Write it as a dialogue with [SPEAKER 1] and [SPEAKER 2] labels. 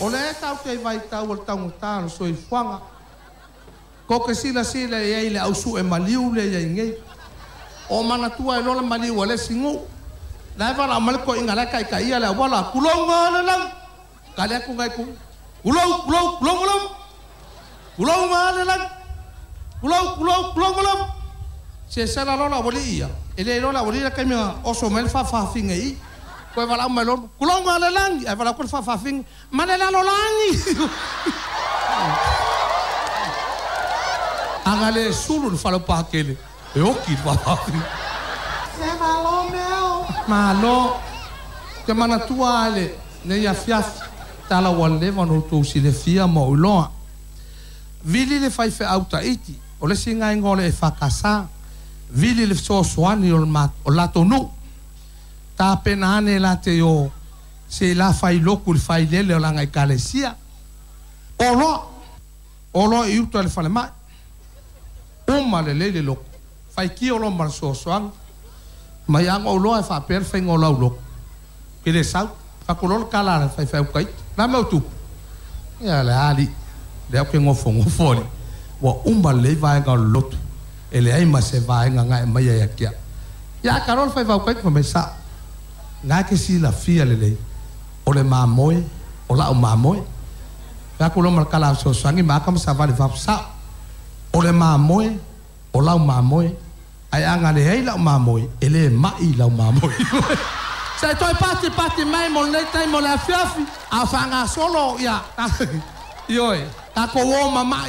[SPEAKER 1] O lea tatou te i vaitau o le taugata o le soifuaga. Tou te silasila i ai i le au sue maliu lea e i ai nei. O manatua ai loa le maliu a le isi nuu. La e valaau mai le toeaina la e taitaia le auala, Tulou le lagi! Tali atu nai itu, Tulou, tulou, tulou le lagi! Tulou le lagi! Tulou, tulou, tulou le lagi! Sesela loa le aualii ia, e le iloa e le aualii le taimi na oso mai ai le faafafine i i. Toe valaau mai loa, Tulou le lagi! Ae valaau atu le faafafine, Ma le lalolagi! Ana le sulu i le faleupatele, e oti le faafafine. Se malo mea! Malo! Ou te manatua lava i lenei afiafi, tala ua leva ona outou silafia ma ou iloa. Vili le faifeau Taiti, o le isi lena igoa o le EFKS, vili le fesoasoani o le latou nuu. Tapena ane la te o se i la fai lotu i le failele o lana ekalesia. Oloa, oloa i uta i le falemai. Uma lelei le lotu, faitio loa ma le fesoasoani. Mai lava ona ou iloa e faapea le faiga o lau lotu, ou te le sau. Fai atu loa le tala a le faifeau Taiti, O le a le mea ua tupu? Ia le a alii, lea ou te nofonofo alii, ua uma lelei vaega o le lotu, e leai ma se vaega na e aumaia ia te au. Ia a ta loa le faifeau Taiti fai mai, Sao, na e te silafia lelei, o le mamoe, o la'u mamoe. Fai atu loa ma le tala fesoasoani ma ata ma savali i fafo, Sao, o le mamoe, o lau mamoe, ae a na leai la'u mamoe, e le ma'i lau mamoe. Se i toe patipati mai mo lenei taimi o le afiafi, a o faagasolo, ia, ioe, tatou o mama'i.